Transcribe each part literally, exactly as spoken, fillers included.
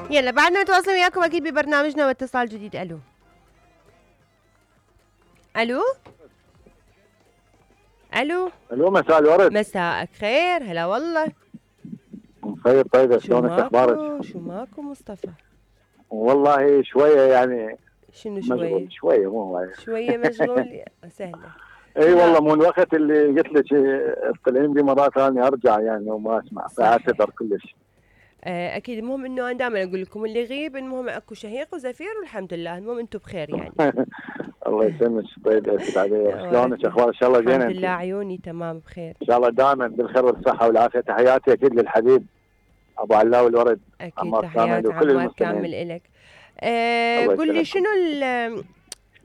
يلا بعدنا نتواصل وياكم اكيد ببرنامجنا واتصال جديد. الو الو الو الو مساء الورد. مساءك خير. هلا والله. خير طيبة، شلونك اخبارك؟ شو ماكو مصطفى؟ والله شوية يعني. شنو شوية؟ شوية مو شوية مشغول. سهلة. اي والله مو الوقت اللي قلت لك اطلعين بي مرات ثانية ارجع يعني وما اسمع فاعتذر كلش. اكيد. المهم انه انا دائما اقول لكم اللي يغيب المهم اكو شهيق وزفير والحمد لله. المهم انتم بخير يعني. الله يسلمك. طيب اسف عليك. شلونك اخبار؟ ان شاء الله زينه. الحمد لله عيوني تمام بخير ان شاء الله دائما بالخير والصحه والعافيه. تحياتي اكيد للحبيب ابو علاء الورد. اكيد تحياتي عمار كامل الك. أه قل لي شنو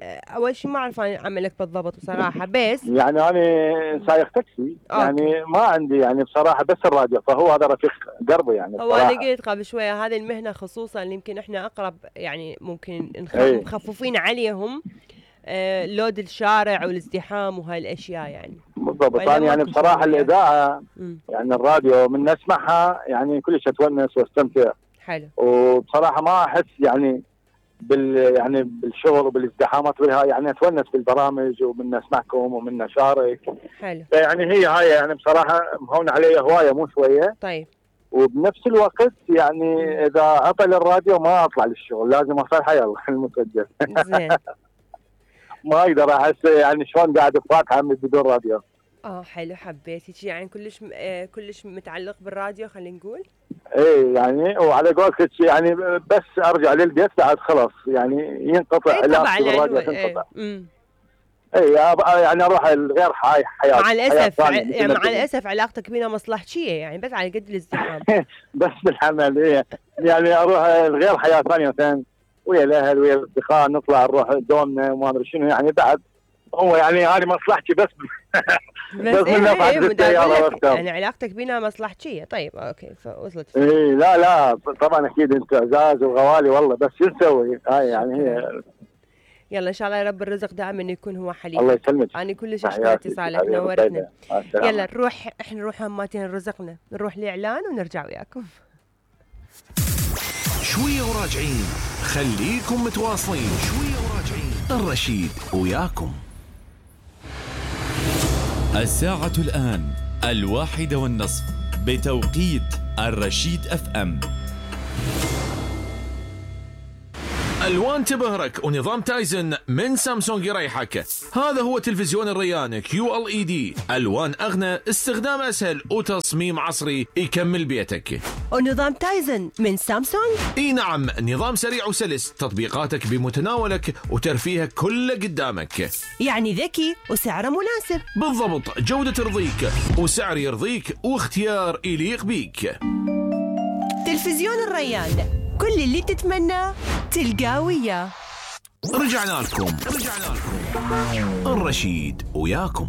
اول شيء ما اعرف اعملك بالضبط بصراحه بس يعني انا سايق تاكسي يعني ما عندي يعني بصراحه بس الراديو فهو هذا رفيق قربي يعني بصراحه. هو انا قلت قبل شويه هذه المهنه خصوصا اللي يمكن احنا اقرب يعني ممكن مخففين عليهم آه لود الشارع والازدحام وهاي الاشياء يعني. بالضبط. انا يعني بصراحه الاذاعه م. يعني الراديو من اسمعها يعني كلش اتونس واستمتع. حلو. وبصراحه ما احس يعني بال يعني بالشغل وبالازدحامات بالها يعني اتونس بالبرامج ومن اسمعكم ومن اشارك. حلو. يعني هي هاي يعني بصراحه مهون علي هوايه مو شويه. طيب. وبنفس الوقت يعني اذا عطل الراديو ما اطلع للشغل لازم اصير حي الله المسجل. زين. ما اقدر احس يعني شلون قاعد بفاتحه بدون راديو. اه حلو. حبيت يعني كلش آه كلش متعلق بالراديو خلينا نقول. ايه يعني وعلى قولتك يعني بس ارجع للبيت بعد خلاص يعني ينقطع علاقتي بالراديو تنقطع. ايه ايه يعني اروح الغير حي حياه مع الاسف يعني مع الاسف علاقتك بينا مصلحتيه يعني بس على قد الازدحام. بس بالحمل ايه يعني اروح الغير حياه ثانيه مثلا ويا الاهل ويا الاصدقاء نطلع نروح دومنا وما ادري شنو يعني بعد هو يعني هذه مصلحتي بس بس, بس من نفعت السيارة يعني علاقتك بينا مصلحتيه. طيب اوكي فوصلت. ايه لا لا طبعا اكيد انت اعزاز وغوالي والله بس شو نسوي هاي يعني هي. يلا ان شاء الله يا رب الرزق دائما يكون هو حليف. الله يسلمك. انا كلش اشكر اتصالك نورتنا. يلا نروح احنا نروح هماتين رزقنا نروح لاعلان ونرجع وياكم. شويه وراجعين خليكم متواصلين. شويه وراجعين الرشيد وياكم. الساعة الآن الواحدة والنصف بتوقيت الرشيد اف ام. الوان تبهرك ونظام تايزن من سامسونج يريحك. هذا هو تلفزيون الريان كيو ال اي دي. الوان اغنى، استخدام اسهل وتصميم عصري يكمل بيتك. ونظام تايزن من سامسونج. اي نعم نظام سريع وسلس، تطبيقاتك بمتناولك وترفيهك كله قدامك. يعني ذكي وسعره مناسب. بالضبط، جودة ترضيك وسعر يرضيك واختيار يليق بيك. تلفزيون الريان كل اللي تتمناه تلقاه وياه. رجعنا لكم رجعنا لكم الرشيد وياكم.